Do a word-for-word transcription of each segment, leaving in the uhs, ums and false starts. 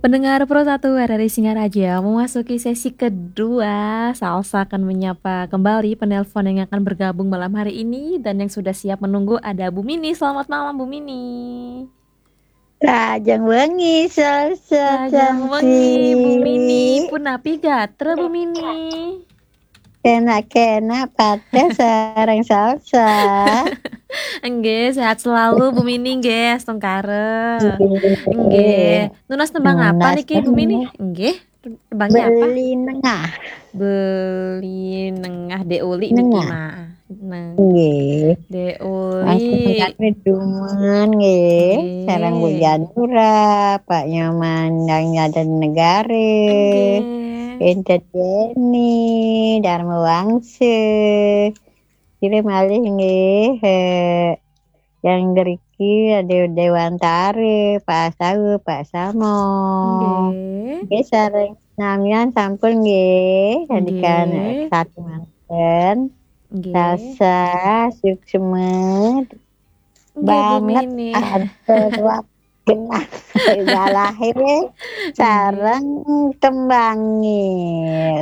Pendengar Pro satu R R I Singaraja, memasuki sesi kedua, Salsa akan menyapa kembali penelpon yang akan bergabung malam hari ini, dan yang sudah siap menunggu ada Bu Mini. Selamat malam, Bu Mini. Rahajeng wengi, Salsa. Rahajeng wengi, Bu Mini. Punapi gatra, Bu Mini? Kena-kena pateh sareng Salsa. Nggih, sehat selalu, Bu Mini, nggih, astungkara. Nggih. Nunas tembang apa niki, Bu Mini? Nggih. Tembangnya apa? Beli Nengah. Beli Nengah, Dek Uli niki, Mak. Nah. Nggih. Dek Uli. Duman nggih. Nggih. Sareng Bu Janura, Pak Nyoman dan Jatinegara. Nggih. Enten Yeni, Dharma Wangsa. Kira malih nggih, eh, yang deriki ada Dewantara, Pak Sawu, Pak Samo. Nggih. Nggih, sareng samian sampun nggih. Nggih. Satu manten. Nggih. Salsa, suksma. Nggih, Bu Mini. Banget, atur genah. Galahe sareng tembange.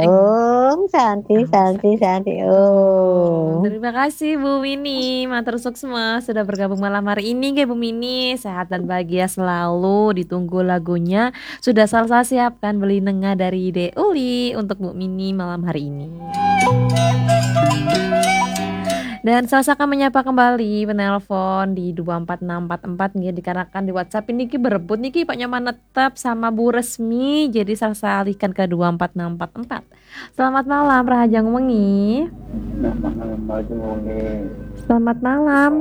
Nggih. Om Santi, Santi, Santi, Om. Terima kasih, Bu Mini. Matur suksma sudah bergabung malam hari ini, nggih, Bu Mini. Sehat dan bahagia selalu. Ditunggu lagunya. Sudah Salsa siapkan Beli Nengah dari Dek Uli untuk Bu Mini malam hari ini. Dan Salsa akan menyapa kembali penelpon di dua empat enam empat empat, nggih, dikarenakan di WhatsApp ini ki berebut niki, Pak Nyoman tetap sama Bu Resmi, jadi Salsa alihkan ke dua empat enam empat empat. Selamat malam, Rahajeng Wengi. Selamat malam, Rahajeng Wengi. Selamat malam.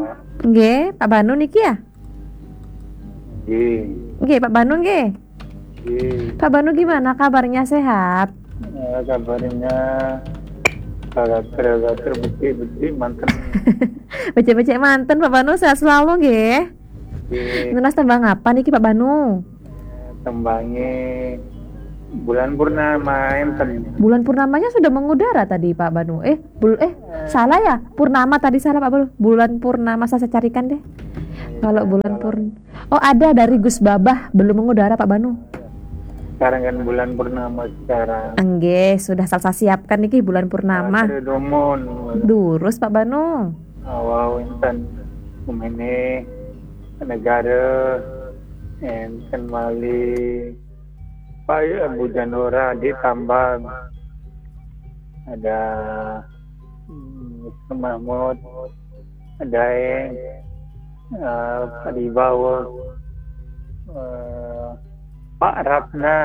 Nggih, Pak Banu niki ya? Nggih. Nggih, Pak Banu nggih. Nggih. Pak Banu gimana kabarnya, sehat? Eh, kabarnya gater-gater, becik-becik manten. Becik-becik manten, Pak Banu, sehat selalu nggih. Nggih. Nunas tembang apa niki, Pak Banu? Eh, tembange Bulan Purnama enten. Bulan Purnamanya sudah mengudara tadi, Pak Banu. Eh, bul eh, salah ya? Purnama tadi salah, Pak Banu. Bulan Purnama, saya carikan deh. Kalau Bulan Purn Oh, ada dari Gus Babah, belum mengudara, Pak Banu. Sekarang kan Bulan Purnama sekarang. Nggih, sudah Salsa siapkan niki Bulan Purnama. Gater dumun. Durus, Pak Banu. Awau enten Umene, Negara, enten malih Pak, ya, Bu Janura, di Tambang. Ada, hmm, Mister Mahmud, ada, eh, Pak Dibawa, eh, Pak Ratna,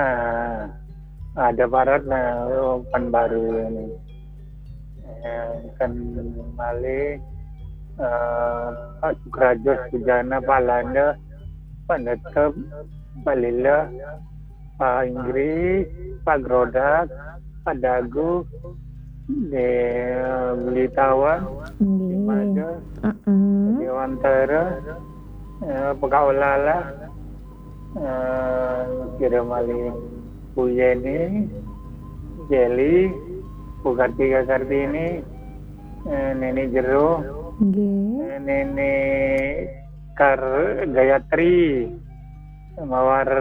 ada Pak Ratna, oh, Pekanbaru ini. Eh, kan malih, eh, Pak Sukrajo Sujana, Pak Landa, Pak Netep, Pak Lila, Pak Inggris, Pak Grodak, Pak Dagu, di, eh, Beli Tawan, di Nggih. Mada, Heeh. Dewantara, eh, Pekaulala, eh, kira malih Bu Yeni, Jeli, Bu Kartika Kartini, eh, Neni Jero, Nggih. Eh, Neni Kar Gayatri, Mawar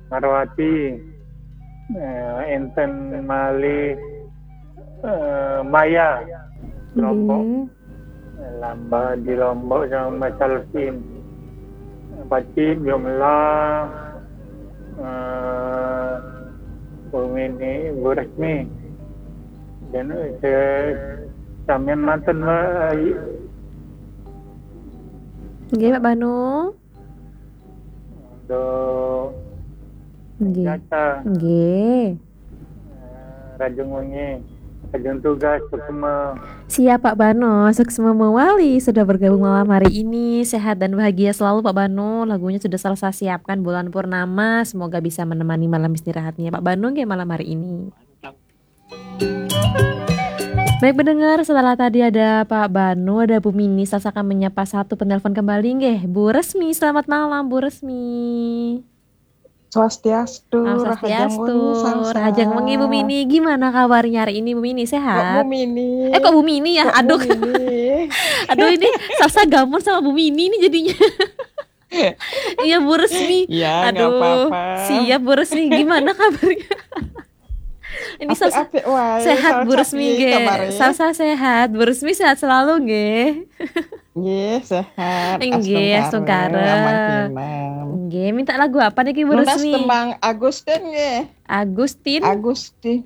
Marwati, eh, enten malih, eh, Maya, Lombok. Nggih. Lamba di Lombok sama Mas Alvin. Pacim, Yomla, eh, Bu Mini, Bu Resmi. Dan, eh, samian manten, Mbak. Nggih, Pak Banu. Untuk Nggih. Jasa. Nggih. Eh, Rahajeng Wengi, Rahajeng Tugas, suksma. Siap, Pak Banu, suksma mawali sudah bergabung malam hari ini. Sehat dan bahagia selalu, Pak Banu. Lagunya sudah Salsa siapkan, Bulan Purnama. Semoga bisa menemani malam istirahatnya Pak Banu nggih malam hari ini. Baik, pendengar, setelah tadi ada Pak Banu, ada Bu Mini, Salsa akan menyapa satu penelpon kembali nggih. Bu Resmi, selamat malam, Bu Resmi. Swastiastu, Salam Rahajeng Swastiastu, Wengi, Salsa. Rahajeng Wengi, Bu Mini. Gimana kabarnya hari ini, Bu Mini? Kok Sehat? Bu Mini? Eh, kok Bu Mini ya? Kok Bu Aduh. Mini? Aduh, ini Salsa gamun sama Bu Mini nih jadinya. Iya, Bu Resmi. Ya, nggak Aduh, apa-apa. Siap, Bu Resmi. Gimana kabarnya? Ini Salsa Apik-apik wae. Sehat, Bu Salsa, Resmi, piye nggih. Kabare? Salsa sehat, Bu Resmi sehat selalu, nggih. Nggih, sehat. Nggih, astungkara. Astungkara. Aman kenem. Nggih, minta lagu apa niki, Bu Nunas Resmi? Tembang Agustin nggih. Agustin. Agustin.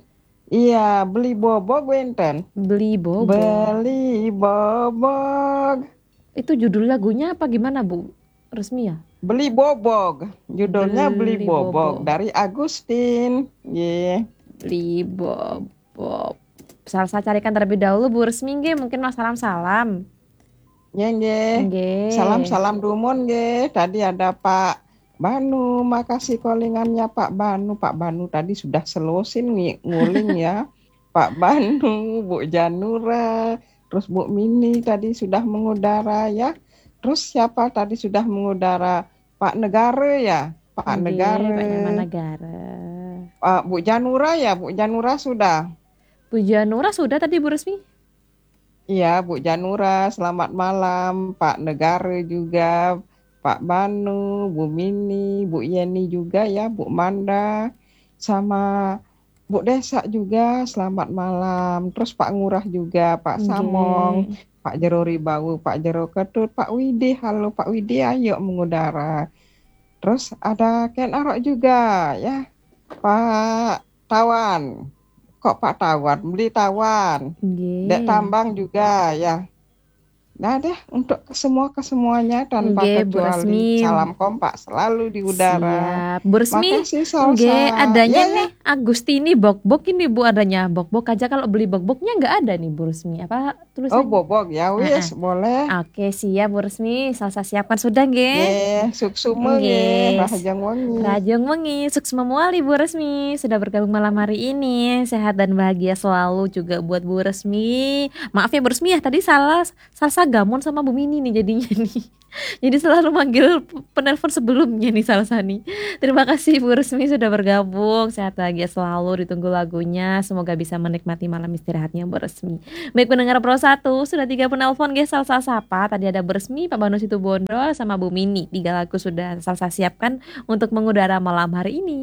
Iya, Beli Bobog wenten. Beli Bobog. Beli Bobog. Itu judul lagunya apa gimana, Bu Resmi, ya? Beli Bobog. Judulnya Beli, Beli Bobog, Bobog. Dari Agustin. Nggih. Beli Bobog. Salsa carikan terlebih dahulu, Bu Resmi, nggih. Mungkin mau salam-salam. Nggih, nggih. Nggih. Salam-salam dumun nggih. Tadi ada Pak Banu, makasih callingannya Pak Banu. Pak Banu tadi sudah selosin ngi-, nguling ya. Pak Banu, Bu Janura, terus Bu Mini tadi sudah mengudara ya. Terus siapa tadi sudah mengudara? Pak Negara ya, Pak Nggih, Negara. Pak Nyaman Negara. Ah, Bu Janura ya, Bu Janura sudah. Bu Janura sudah tadi, Bu Resmi? Iya, Bu Janura, selamat malam. Pak Negara juga, Pak Banu, Bu Mini, Bu Yeni juga ya, Bu Manda, sama Bu Desa juga, selamat malam. Terus Pak Ngurah juga, Pak Nggih. Samong, Pak Jero Ribawu, Pak Jero Ketut, Pak Widi, halo Pak Widi, ayo mengudara. Terus ada Ken Arok juga ya, Pak Tawan. Kok Pak Tawan? Beli Tawan. Nggih. Dek Tambang juga ya. Nah deh, untuk semua kesemuanya tanpa Nggih, Bu kecuali, Resmi. Salam kompak selalu di udara. Siap. Bu Resmi, Makasih, Salsa. nggih, adanya Ya, ya. nih Agustini Bokbok ini, Bu, adanya Bokbok aja. Kalau Beli Bobognya nggak ada nih, Bu Resmi. Apa Oh, tulisannya? Bobog ya, wis, boleh. Oke, siap, Bu Resmi. Salsa siapkan sudah, nggih. Nggih, suksma Nggih. nggih, rahajeng wengi. Rahajeng wengi, suksma muali, Bu Resmi, sudah bergabung malam hari ini. Sehat dan bahagia selalu juga buat Bu Resmi. Maaf ya, Bu Resmi, ya, tadi salah, Salsa gamon sama Bu Mini nih jadinya nih. Jadi selalu manggil penelpon sebelumnya nih, Salsa nih. Terima kasih, Bu Resmi, sudah bergabung. Sehat bahagia selalu, ditunggu lagunya. Semoga bisa menikmati malam istirahatnya, Bu Resmi. Baik, pendengar Pro satu, sudah tiga penelpon, guys, Salsa Sapa. Tadi ada Bu Resmi, Pak Banu Situbondo, sama Bu Mini. Tiga lagu sudah Salsa siapkan untuk mengudara malam hari ini.